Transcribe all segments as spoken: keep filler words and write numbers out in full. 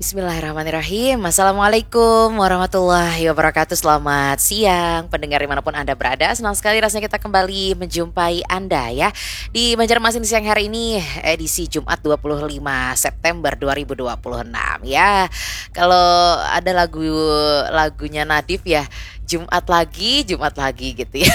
Bismillahirrahmanirrahim. Assalamualaikum warahmatullahi wabarakatuh. Selamat siang, pendengar dimanapun Anda berada. Senang sekali rasanya kita kembali menjumpai Anda, ya, di Banjarmasin siang hari ini, edisi Jumat dua puluh lima September dua ribu dua puluh enam, ya. Kalau ada lagu, lagunya Nadif, ya, Jumat lagi, Jumat lagi gitu, ya.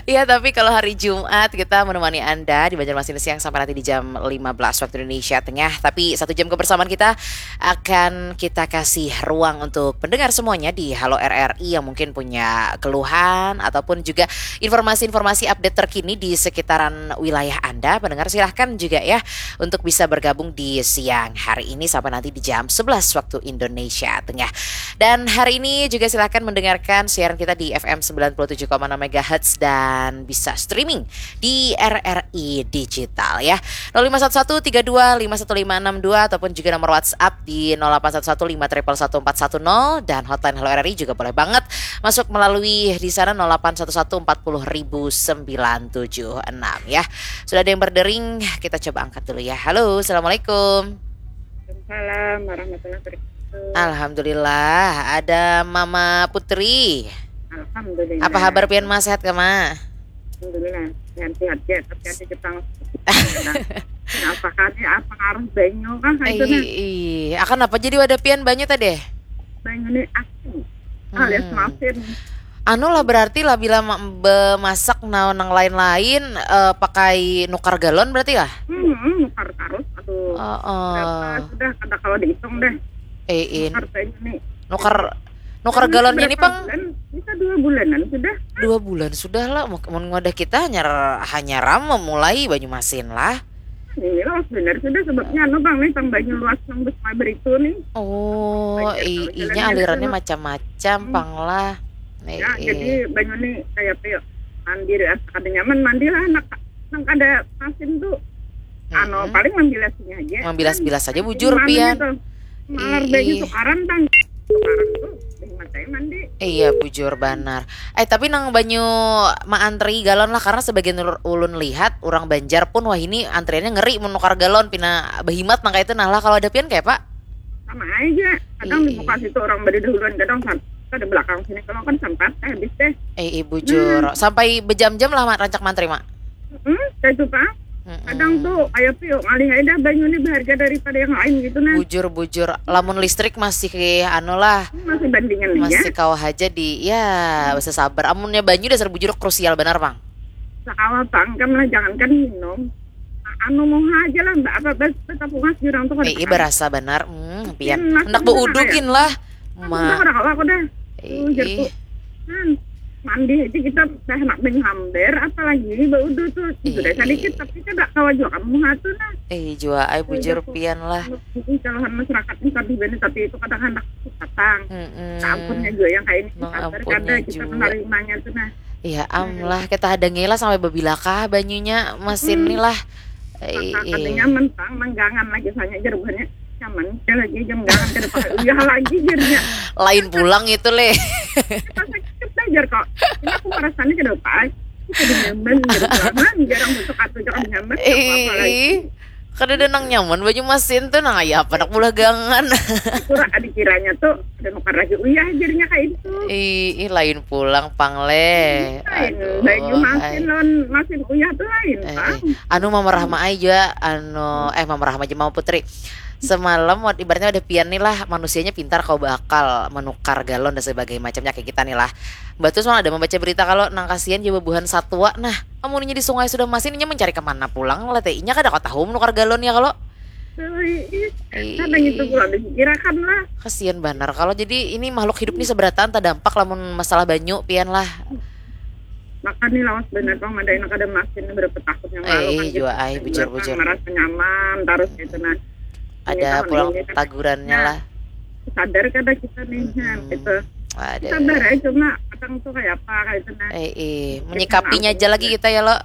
Ya, tapi kalau hari Jumat kita menemani Anda di Banjarmasin siang sampai nanti di jam lima belas waktu Indonesia Tengah. Tapi satu jam kebersamaan kita akan kita kasih ruang untuk pendengar semuanya di Halo R R I yang mungkin punya keluhan ataupun juga informasi-informasi update terkini di sekitaran wilayah Anda. Pendengar, silahkan juga, ya, untuk bisa bergabung di siang hari ini sampai nanti di jam sebelas waktu Indonesia Tengah. Dan hari ini juga silahkan mendengarkan siaran kita di F M sembilan puluh tujuh koma enam megahertz dan bisa streaming di R R I Digital, ya. Nol lima satu satu tiga dua lima satu lima enam dua ataupun juga nomor WhatsApp di nol delapan satu satu lima triple satu empat satu nol, dan hotline Halo R R I juga boleh banget masuk melalui di sana, nol delapan satu satu empat puluh ribu sembilan tujuh enam, ya. Sudah ada yang berdering, kita coba angkat dulu, ya. Halo, assalamualaikum. Waalaikumsalam warahmatullahi wabarakatuh. Alhamdulillah, ada Mama Putri. Alhamdulillah. Apa kabar pian, Ma? Sehat kah, Ma? Alhamdulillah. Sehat-sehat ya, tapi ada Jepang. Nah, apa kan ya, apa ngaruh banyu kah itu Ih, nah? ih, akan apa jadi wadah pian banyu tadi? Banyu nih aku. Alias Hmm. Masin. Anu lah, berarti lah bila ma- bemasak naon nang lain-lain, eh, pakai nukar galon berarti lah? Hmm, nukar tarus. Aduh. Heeh. Berapa sudah kada kalau dihitung deh. Eh, in. Nukar banyu nih. Nukar nukar galonnya ini, Berapa Pang? Bulan? Bisa dua bulanan sudah. Dua bulan sudah lah. Mun mun wadah kita hanyar hanyar ram memulai Banyu Masin lah. Ini lah benar sudah sebabnya anu Bang nih, tang banyu luas nang besar beritu nih. Oh, Banjir i- kalau inya jalan alirannya biasa. Macam-macam, Hmm. Pang lah. Eh, Ya, eh. Jadi banyu nih kayak apa ya? Mandi asa kada nyaman, mandi lah anak nang kada masin tuh. Anu, Mm-mm. Paling mambilas aja. Mambilas-bilas aja, Jadi bujur, malam pian. Itu. Malar banyu Ih. Tukaran, Bang. Tukaran tuh. Ih, matai mandi. Iya, bujur banar. Eh, tapi nang banyu maantri galon lah, karena sebagian ul- ulun lihat orang Banjar pun wah ini antriannya ngeri menukar galon, pina behimat nang kayak itu. Nah lah, kalau ada pian kayak apa? Sama aja. Kadang Ih. Dibuka situ orang badi dahuluan, kadang sam- kada belakang sini kalau kan sempat eh, habis deh. Eh, eh, bujur. Sampai berjam-jam lah, Mak, rancak mantri, Mak. Hmm, kayak itu Pak. Mm-mm. Kadang tuh kayak piu ngalih aja dah banyu nih berharga daripada yang lain gitu nah. Bujur, bujur. Lamun listrik masih anu lah, Masih bandingan aja. Masih kawa aja di, ya, bisa sabar. Amunnya banyu dasar bujur krusial banar, Pang. Sakawa Pang, kan lah jangankan minum. Anu mau aja lah, apa bas betapungas jurang tuh kada Eh, iya, Pang. Berasa banar. Hmm, pian. Maksudnya Hendak beudu kayak- gin lah. Kan Ma. udah kada kawa aku dah. Tuh, jar Ih. tuh. Hmm, mandi aja kita dah nak banyu hamber, apalagi ini beudu tuh. Sudah Ih. Sedikit tapi kada kawa juga kamu hatu nah. Eh, jua ai bujur Udah, pian lah. Ini calon masyarakat ini tadi bani tapi itu kadang hendak datang. Mm-mm. Ampunnya juga yang kayak ini Nang sabar ampunnya kada kita juga. Menerimanya tuh nah. Iya, am lah, kita hadangi lah sampai bebilakah banyunya masin nih lah. Eh, Maka eh. Katanya mentang menggangan lagi soalnya jar buhannya nyaman dia lagi jam gangan kada pakai uyah lagi jarnya. Lain pulang itu, Le. Kita sakit dah jar kok. Ini aku merasaannya kada apa. Kada nyaman, kada pelaman, jarang masuk atu jangan nyaman. Apa lagi? Eh, kada ada nang nyaman banyu masin tuh, nang aya apa nak bulah gangan. Kurang ada kiranya tuh ada nukar lagi uyah jarnya kayak itu. Ih, ih, lain pulang, Pang, Le. Lain, Aduh, banyu masin ai. Lawan masin uyah tuh lain Eh, Pang. eh. Anu, Mama Rahma ai jua, anu, eh, Mama Rahma aja, Mama Putri. Semalam wad- ibaratnya wadah pian nih lah, manusianya pintar kau bakal menukar galon dan sebagainya macamnya kayak kita nih lah. Mbak Tus malah ada membaca berita kalau nang kasihan jua bubuhan satua. Nah, amunnya di sungai sudah masin, inya mencari kemana pulang lah teh? Inya kada kau tahu menukar galon ya kalau. Tuh, ih, ih. Ih, Kadang itu pula dipikirakan lah. Kasihan banar kalau jadi ini makhluk hidup nih seberataan terdampak lamun masalah banyu pian lah. Maka nih lawas bener Pang, madai nak ada masin berapa tahun yang Eh, lalu eh, kan jua, ai, bujur, Pang, bujur. Merasa nyaman terus gitu nah. Ada Tahun pulang ini kan tagurannya nah, lah. Sadar kada kita nih nah, Mm-mm. gitu. Waduh. Sabar aja cuma kadang tuh kayak apa kayak itu nah. Eh, eh, Jadi, menyikapinya kenapa aja lagi juga? Kita ya lo.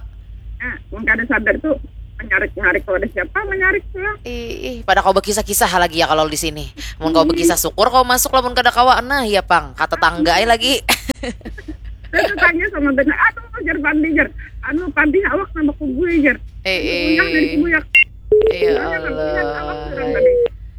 Nah, mun kada sadar tuh menyarik-nyarik kalau ada siapa menyarik tuh lah. Ih, ih, pada kau berkisah-kisah lagi ya kalau di sini. Mun kau berkisah syukur kau masuk, lamun kada kawa nah ya Pang, kata tangga ai lagi. Terus tanya sama benar, aduh jar Pandi jar, anu Pandi awak nambah kubui jar. Eh, Kubuyak dari eh. kubuyak. Ya Gimana kan lihat awak orang Allah. tadi.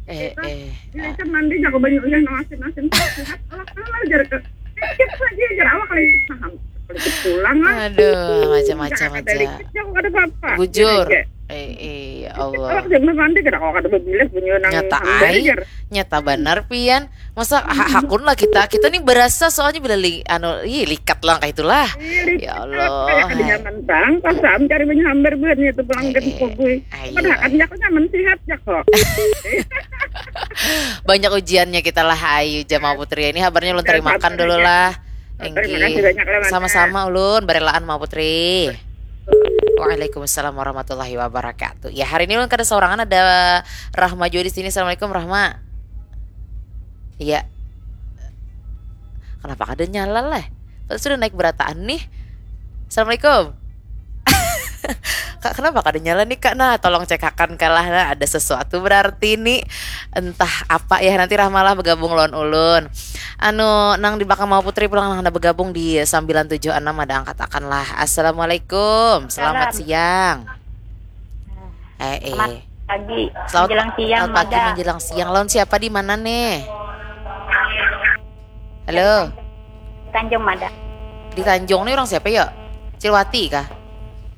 Eh, Kita eh. Cuman dia jago banyak ulah nang asin-asin. Sehat, awak kalah jar ke. Sedikit saja jar awak lagi paham. Sedikit pulang lah. Aduh, macam-macam Nggak ada aja. Dikit, jago kada apa-apa. Bujur. Gitu aja. Eh, eh, ya Allah. Awak jangan nanti kada, kalau kada berbilas punya nang nyata hambar ai, jar. Nyata benar pian. Masa ha- hakun lah kita. Kita nih berasa soalnya bila li, anu, ih, likat lah kayak itulah. Ih, likat. Ya Allah. Kayak kada nyaman bang, pas am cari banyak hambar buatnya itu pelanggan eh, eh. Kugui. Padahal aku nyaman sehat ya kok. Banyak ujiannya kita lah, ayu jamaah putri. Ini habarnya ulun terima kasih dulu lah. Enggih. Sama-sama ulun, barelaan mah putri. Waalaikumsalam warahmatullahi wabarakatuh. Ya, hari ini ulun kada seorangan, ada Rahma juga di sini. Assalamualaikum Rahma. Iya. Kenapa kada nyala lah? Sudah naik berataan nih. Assalamualaikum. Kak, kenapa kada nyala nih kak? Nah, tolong cekakan kalah, nah, ada sesuatu berarti nih. Entah apa ya, nanti Rahmalah bergabung lawan ulun. Anu, nang di belakang mau putri pulang nang ada bergabung di sembilan tujuh enam ada angkat akan lah. Assalamualaikum, selamat siang. Eh, eh. Selamat pagi, selamat menjelang siang, selamat pagi, Mada. Menjelang siang. Lawan siapa di mana nih? Halo. Tanjung Mada. Di Tanjung nih orang siapa ya? Cilwati kah?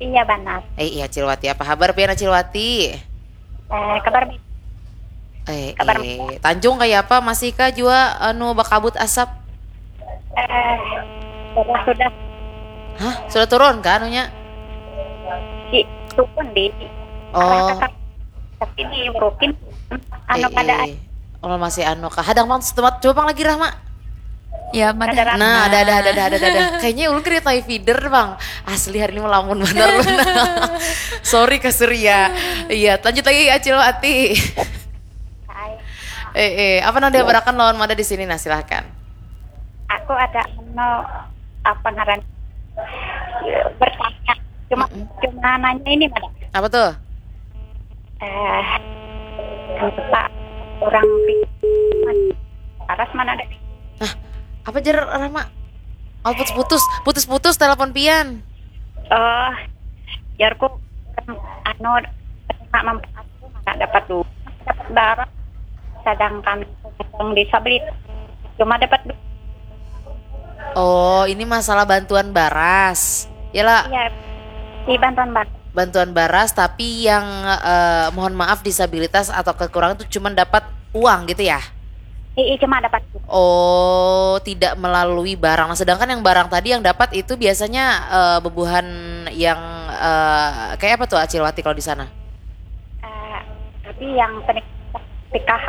Iya benar. Eh iya Cilwati, apa kabar pian Cilwati? Eh kabar baik. Eh, kabar eh. Tanjung kayak apa? Masih kah jua anu bakabut asap? Eh sudah sudah. Hah? Sudah turun kah anunya? Di turun di. Oh. Tapi di Urukin anu eh, pada eh. Oh masih anu kah? Hadang bang tempat coba bang lagi Rahma. Ya, mana? Nah, ada ada ada ada ada ada. Kayaknya ulun kena tai feeder, Bang. Asli hari ini melamun benar. Sorry ke Surya. Iya, lanjut lagi Acil Ati. Eh, eh, apa nang dihabarakan lawan Mada di sini? Nah, silahkan. Aku ada no apa ngaran bertanya. Cuma mm -mm. Cuma nanya ini Mada. Apa tuh? Eh, lupa orang paras mana ada. Nah, apa jar Rama? Oh, putus-putus, putus-putus telepon pian. Oh, jarku anu terima manfaat mana dapat dua, dapat barang. Sedangkan yang disabilitas cuma dapat dua. Oh, ini masalah bantuan baras. Ya lah. Iya. Di bantuan baras. Bantuan baras tapi yang eh, mohon maaf disabilitas atau kekurangan itu cuma dapat uang gitu ya? Iya, cuma dapat. Oh, tidak melalui barang. Nah, sedangkan yang barang tadi yang dapat itu biasanya eh, bebuhan yang eh, kayak apa tuh Acilwati kalau di sana? Uh, tapi yang P K H.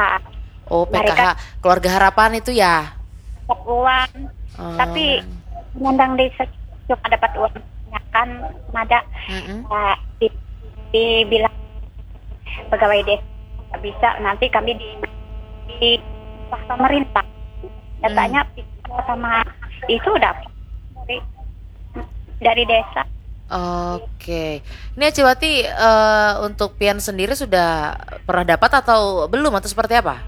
Oh, P K H keluarga harapan itu ya? Dapat uang. Oh. Tapi nendang di cuma dapat uang kan Mada mm -mm. Uh, di, dibilang pegawai desa nggak bisa, nanti kami di di pemerintah datanya hmm. Sama itu dapat dari dari desa. Oke, ini Acilwati uh, untuk pian sendiri sudah pernah dapat atau belum atau seperti apa?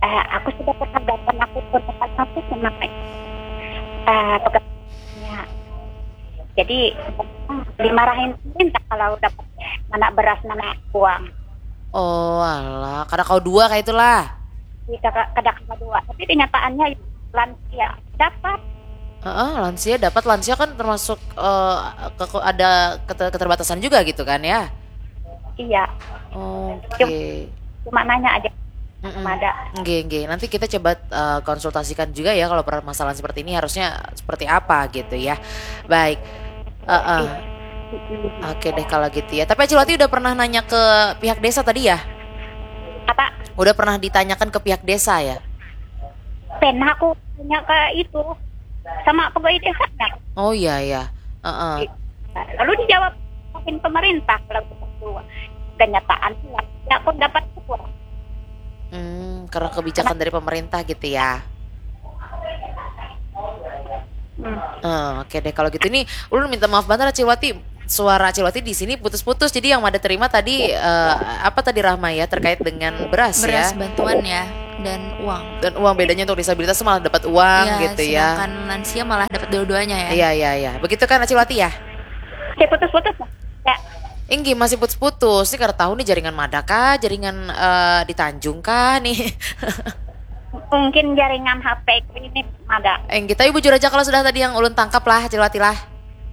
Uh, aku sudah pernah dapat, aku pernah dapat satu sama uh, pekerjaannya. Jadi dimarahin pemerintah kalau dapat mana beras mana uang. Oh alah, kada kau dua kayak itulah. Iya, kada kau dua. Tapi kenyataannya lansia dapat. Heeh, lansia dapat, lansia kan termasuk uh, ke, ada keter, keterbatasan juga gitu kan ya? Iya. Oke. Okay. Cuma, cuma nanya aja. Mm-mm. Ada. Nggih, nggih. Nanti kita coba uh, konsultasikan juga ya kalau permasalahan seperti ini harusnya seperti apa gitu ya. Baik. Uh-uh. Oke deh kalau gitu ya. Tapi Acilwati udah pernah nanya ke pihak desa tadi ya? Apa? Udah pernah ditanyakan ke pihak desa ya? Pernah aku tanya ke itu sama pegawai desa. Oh iya iya. Uh-uh. Lalu dijawab mungkin pemerintah kalau gitu. Kenyataan ya aku dapat uang. Hmm, karena kebijakan dari pemerintah gitu ya. Hmm. Uh, Oke okay deh kalau gitu ini ulun minta maaf banget Acilwati, suara Acilwati di sini putus-putus jadi yang Mada terima tadi uh, apa tadi Rahma ya terkait dengan beras, beras ya. Beras bantuan ya dan uang. Dan uang bedanya untuk disabilitas malah dapat uang ya, gitu ya. Sedangkan lansia malah dapat dua-duanya ya. Iya iya iya. Begitu kan Acilwati ya? Saya putus-putus. Ya. Inggi masih putus-putus. Ini kada tahu nih jaringan Mada kah, jaringan uh, di Tanjung kah nih. Mungkin jaringan H P ku ini mada. Enggih, tapi bujur aja kalau sudah tadi yang ulun tangkap lah, Cilwati lah.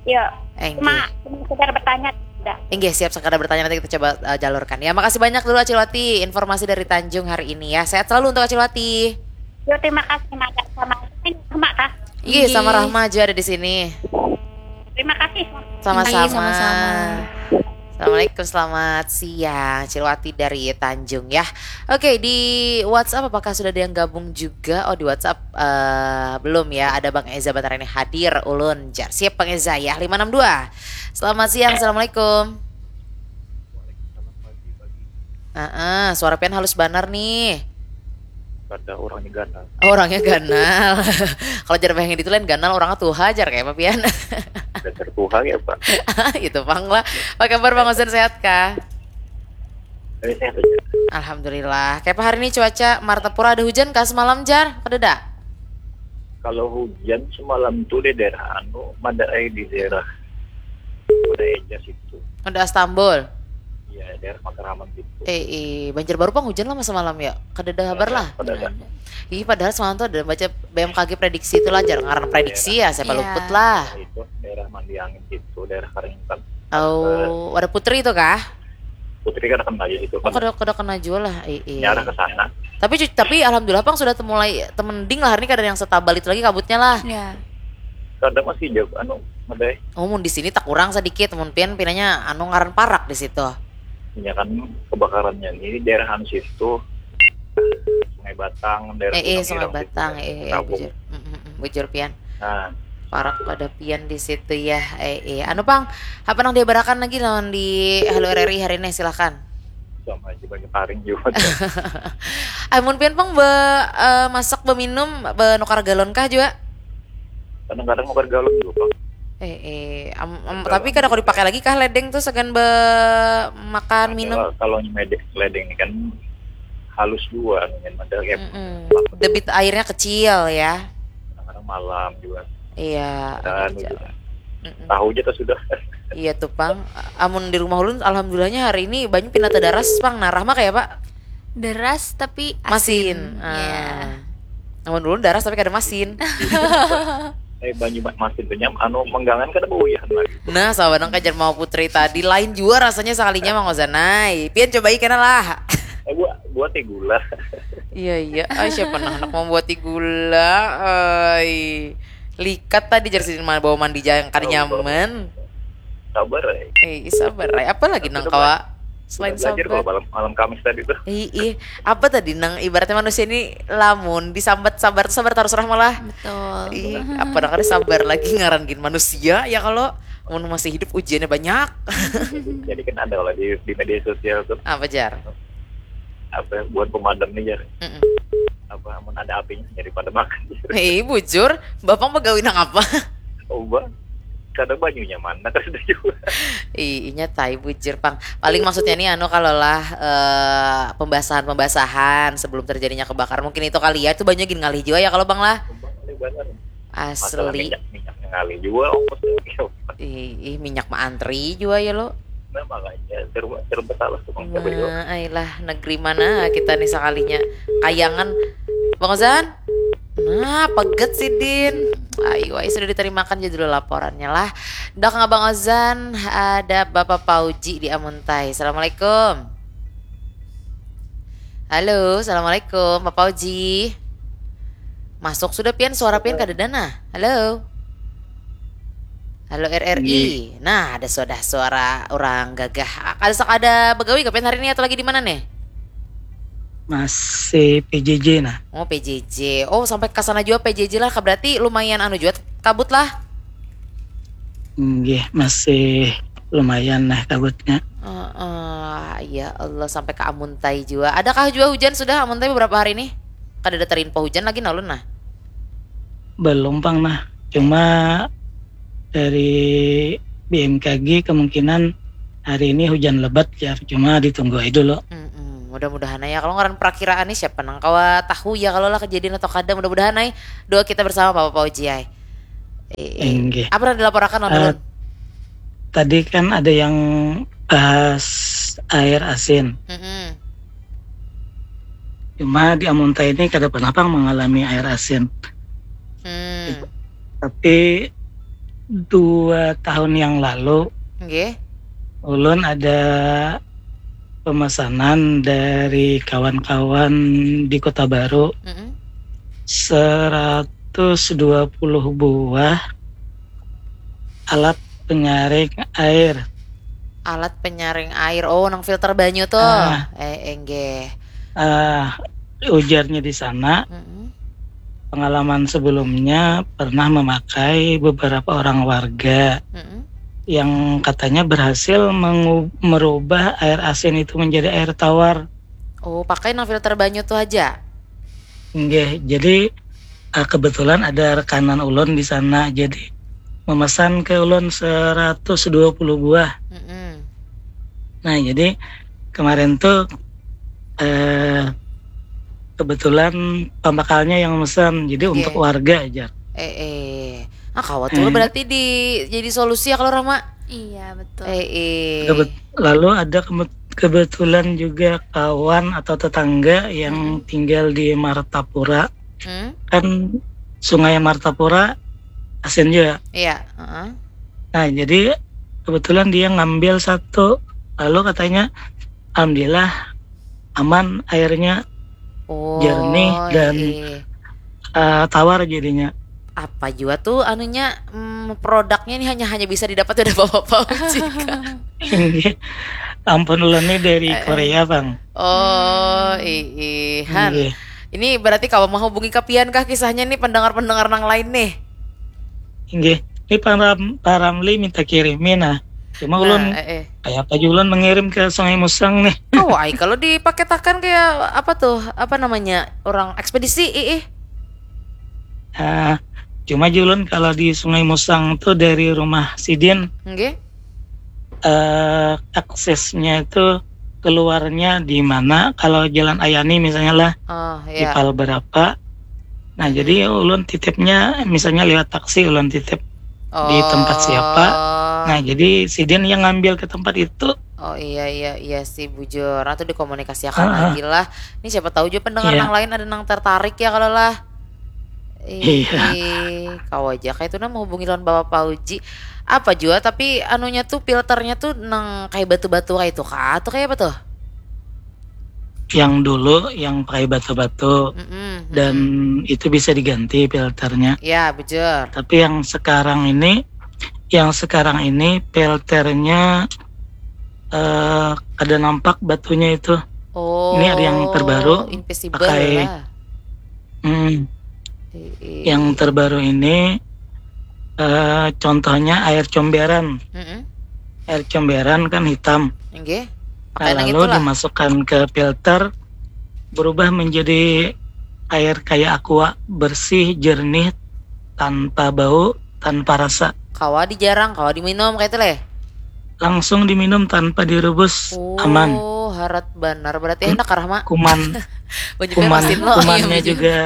Yo, Enggih. Cuma, cuma sekedar bertanya. Dah. Enggih, siap, sekadar bertanya, nanti kita coba uh, jalurkan. Ya, makasih banyak dulu Acilwati informasi dari Tanjung hari ini ya. Sehat selalu untuk Acilwati. Yo, terima kasih mada sama ini sama kah? Iya, sama Rahma juga ada di sini. Terima kasih. Sama-sama. Iya, sama-sama. Assalamualaikum, selamat siang. Cilwati dari Tanjung ya. Oke, di WhatsApp apakah sudah ada yang gabung juga? Oh, di WhatsApp eh, belum ya. Ada Bang Eza Batarani hadir, ulun jar. Siap Bang Eza ya, lima enam dua. Selamat siang, Assalamualaikum. Heeh, suara pian halus banar nih. Kada, orangnya ganal. Oh, orangnya ganal. Kalau jar bahasa itu lain ganal, orangnya tuha jar kayak apa pian. Dasar tuha ya, Pak. Itu pang lah. Apa kabar Bang Ozan, sehat kah? Ini sehat aja. Alhamdulillah. Kayak apa hari ini cuaca Martapura, ada hujan kah semalam jar? Kada ada? Kalau hujan semalam tuh di daerah anu, mada ai di daerah Kuta Eja situ. Ada Astambul. Iya, daerah Matraman situ. Eh, eh, Banjarbaru pang hujan lah masa malam ya. Kada ada kabar lah. Kada ada. Ih, padahal semalam tuh ada baca B M K G prediksi itu lah, jar ngaran prediksi ya, siapa Iya. luput lah. Itu daerah Mandiangin situ, daerah Karingkan. Oh, ada Putri itu kah? Putri kada kena aja situ. Oh, kada kada kena juga lah. Eh, eh. Nyarah ke sana. Tapi cu- tapi alhamdulillah pang sudah temulai temending lah hari ini, kada ada yang setabal itu lagi kabutnya lah. Ya. Kada, masih jauh anu, mada ai. Oh, mun di sini tak kurang sedikit, mun pian pinanya anu ngaran parak di situ. Ya kan, kebakarannya ini daerah anu situ. Sungai Batang, daerah Eh, eh, Gunung Sungai Ireng Batang, situ. eh, eh, Kampung. Bujur. Mm, mm, mm, bujur pian. Nah, Parak pada pian di situ ya. Eh, eh. Anu pang, apa nang dihabarakan lagi lawan di Halo R R I hari ini, silakan. Sama aja banyak karing juga. Amun pian pang be, eh, masak, beminum, benukar galon kah juga? Kadang-kadang nukar galon juga, Pak. Eh, eh, am- am- Galon. Tapi kada kau dipakai lagi kah ledeng tuh sagan be makan minum? Kalau, kalau nyemedek ledeng ini kan halus juga, kan ada kayak Mm-mm. Debit airnya kecil ya. Kadang-kadang malam juga. Iya. Dan Aja. Juga. Mm-mm. Tahu aja tuh sudah. Iya tuh pang. Amun di rumah ulun alhamdulillahnya hari ini banyak pinata daras pang. Nah, Rahma kayak apa? Deras tapi Masin. asin. Ya. Ah. Amun ulun daras tapi kada masin. Eh, banyu ma- masin tuh nyam, anu, menggangan kada bauyahan lagi. Nah, sabanang kajar mau Putri tadi, lain jua rasanya sekalinya Mang Ozanai. Pian cobai kena lah. Eh, buat buat teh gula. Iya, iya. Ay, siapa nang handak mambuati gula? Ay. Likat tadi jar sidin ma- bawa mandi ja yang kada Tahu, tahu. Nyaman. Sabar, eh. Eh, sabar ay. Apa lagi nang Sudah kawa bela- selain Sudah belajar sabar? Kalau malam malam Kamis tadi tuh. Ih, ih. Apa tadi nang ibaratnya manusia ini lamun disambat sabar tuh sabar tarus Rahma lah. Betul. Ih, apa nang kada sabar lagi ngaran gin manusia ya kalau mun masih hidup ujiannya banyak. Jadi kan ada lah di, di media sosial tuh, Apa jar? apa, buat pemadam nih, jar. Mm-mm. Apa, amun ada apinya jadi pada makan. Hei, bujur, bapak begawi nang apa? Oh, Bang. Kada banyunya mana, kada juga. Ih, inya tai bujur pang. Paling maksudnya nih anu kalau lah eh, pembasahan-pembasahan sebelum terjadinya kebakaran mungkin itu kali ya, itu banyak gin ngalih juga ya kalau bang lah. Bang, ini benar. Masalah Asli. Minyak, minyak ngalih juga ongkosnya. Ih, ih, minyak mah antri juga ya lo. Nah, makanya serba serba salah tuh, Bang. Siapa juga? Nah, ayolah, negeri mana kita nih sekalinya kayangan, Bang Ozan? Nah, peget sidin. Ayo, ayo sudah diterimakan aja dulu laporannya lah. Dak nggak Bang Ozan, ada Bapak Pauji di Amuntai. Assalamualaikum. Halo, assalamualaikum, Bapak Pauji. Masuk sudah pian, suara pian kada dana. Halo. Halo R R I. Nah, ada sudah suara orang gagah. Ada ada begawi kah pian hari ini atau lagi di mana nih? Masih P J J nah. Oh, P J J. Oh, sampai ke sana juga P J J lah. Berarti lumayan anu juga kabut lah. Nggih, masih lumayan nah kabutnya. Heeh, ya Allah, sampai ke Amuntai juga. Adakah juga hujan sudah Amuntai beberapa hari ini? Kada ada terinfo hujan lagi nah ulun nah. Belum pang nah. Cuma dari B M K G kemungkinan hari ini hujan lebat ya. Cuma ditunggu aja dulu. Mm-mm, mudah-mudahan ya. Kalau ngaran perakiraan nih siapa nang kawa tahu ya kalau lah kejadian atau kada. Mudah-mudahan ay. Doa kita bersama Bapak Pauji ay. Eh, eh. Inggih. Apa yang dilaporakan lawan Eh, ulun? Tadi kan ada yang bahas air asin. Mm-mm. Cuma di Amuntai ini kada pernah pang mengalami air asin. Hmm. Tapi dua tahun yang lalu, Nggih. ulun ada pemesanan dari kawan-kawan di Kota Baru, Mm-mm. seratus dua puluh buah alat penyaring air. Alat penyaring air. Oh, nang filter banyu tuh. Ah. Eh, enggih. Ah, ujarnya di sana, Mm-mm. pengalaman sebelumnya pernah memakai beberapa orang warga Mm-mm. yang katanya berhasil mengu- merubah air asin itu menjadi air tawar. Oh, pakai nang filter banyu tuh aja. Nggih, jadi, ah, kebetulan ada rekanan ulun di sana, jadi memesan ke ulun seratus dua puluh buah. Mm-mm. Nah, jadi kemarin tuh, eh, kebetulan pambakalnya yang memesan, jadi Oke. untuk warga aja. Eh, eh. Ah, kawa tuh Eh. berarti di jadi solusi ya kalau Rama. Iya, betul. Eh, eh. Kebet- lalu ada kebet- kebetulan juga kawan atau tetangga yang Hmm. tinggal di Martapura. Hmm? Kan Sungai Martapura asin juga. Iya, heeh. Nah, jadi kebetulan dia ngambil satu. Lalu katanya, "Alhamdulillah aman airnya, Oh, jernih dan iya. eh, tawar jadinya." Apa jua tuh anunya, mm, produknya ini hanya hanya bisa didapat oleh bapak-bapak Uji. Ini ampun, ulun nih dari Korea, Bang. Oh, ii, han. Iya. Ini berarti kawa menghubungi ke pian kah kisahnya nih, pendengar-pendengar nang lain nih? Inggih. Ini Pak Ram, Pak Ramli minta kirimi nah. Cuma ulun Nah, eh, eh. kayak apa juga ulun mengirim ke Sungai Musang nih. Oh, ai kalau dipaketakan kayak apa tuh? Apa namanya? Orang ekspedisi, ii. Ah, cuma juga ulun kalau di Sungai Musang tuh dari rumah sidin, Nggih. eh, aksesnya itu keluarnya di mana? Kalau Jalan Ayani misalnya lah, Oh, di ya. pal berapa? Nah, Hmm. jadi ulun titipnya misalnya lewat taksi, ulun titip di tempat siapa. Oh. Nah, jadi sidin yang ngambil ke tempat itu. Oh, iya, iya, iya sih, bujur. Atau dikomunikasikan Ah, ah. lagi lah. Ini siapa tahu juga pendengar Iya. nang lain ada nang tertarik ya kalau lah. Iya. Ih, kau aja kayak itu nah menghubungi lawan Bapak Fauji. Apa jua, tapi anunya tuh, filternya tuh nang kayak batu-batu kayak itu kah? Atau kayak apa tuh? Yang dulu yang pakai batu-batu Mm-mm, dan mm-mm. itu bisa diganti filternya. Ya, bujur. Tapi yang sekarang ini, yang sekarang ini filternya eh, ada nampak batunya itu. Oh, Ini ada yang terbaru, invisible pakai lah. Hmm, Ii. yang terbaru ini eh, contohnya air comberan. Mm-mm. Air comberan kan hitam. Nggih. Nah, Pakai nang lalu itulah. Dimasukkan ke filter, berubah menjadi air kayak aqua, bersih, jernih, tanpa bau, tanpa rasa. Kawa dijarang, kawa diminum kayak itu leh. Langsung diminum tanpa direbus, Oh, aman. Harat banar. Berarti enak karah, Mak. Kuman, Banyak kuman, masin lo. kumannya juga,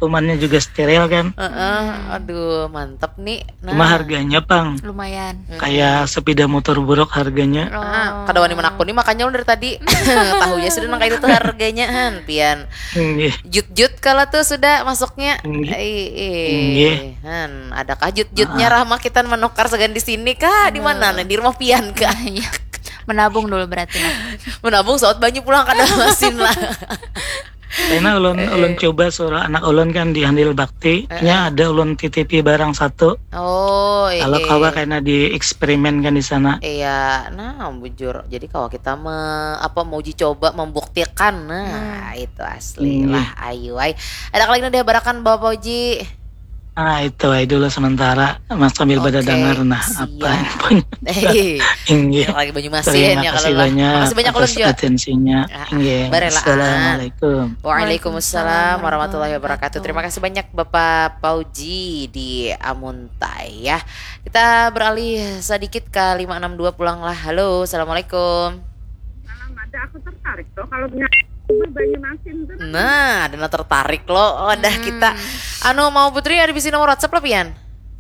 kumannya juga steril kan. Heeh, aduh, mantep nih. Nah. Cuma harganya pang Lumayan. Mm-mm. kayak sepeda motor buruk harganya. Ah, kada wani menakuni, makanya ulun dari tadi tahu ya sudah nang kayak itu harganya, han, pian. Nggih. Jut-jut kalau tuh sudah masuknya. Nggih. Ih, ih. Nggih. Han, adakah jut-jutnya Rahma kita menukar segan di sini kah? Di mana? Nah, di rumah pian kah? Iya. Menabung dulu berarti lah. Menabung saut banyu pulang kada masin lah. Karena ulun Eh, ulun eh. Coba suruh anak ulun kan di Handil Bakti, Eh, nya ada ulun titipi barang satu. Oh, iya. Kalau kawa kena dieksperimen kan di sana. Iya, nah, bujur. Jadi kalau kita me, apa, mau uji coba, membuktikan, nah, Hmm. itu asli Iya. Lah, ayu ai. Ada lagi nang dihabarakan, Bapak Uji? Ah, itu aja dulu sementara, Mas, sambil pada Oke, dengar nah siap. Apa yang punya. Hei, Inggih. yang lagi Banyu Masin Terima ya kalau kasih lah. Banyak Makasih banyak ulun atas juga. Atensinya. Ah, Inggih. Barelaan. Assalamualaikum. Waalaikumsalam warahmatullahi wabarakatuh. Terima kasih banyak Bapak Pauji di Amuntai ya. Kita beralih sedikit ke lima enam dua pulang lah. Halo, assalamualaikum. Salam, ada aku tertarik tuh kalau punya Banyu Masin tuh. Nah, ada nang tertarik lo. Wadah, kita. Anu, mau Putri ada bisi nomor WhatsApp lo, Pian?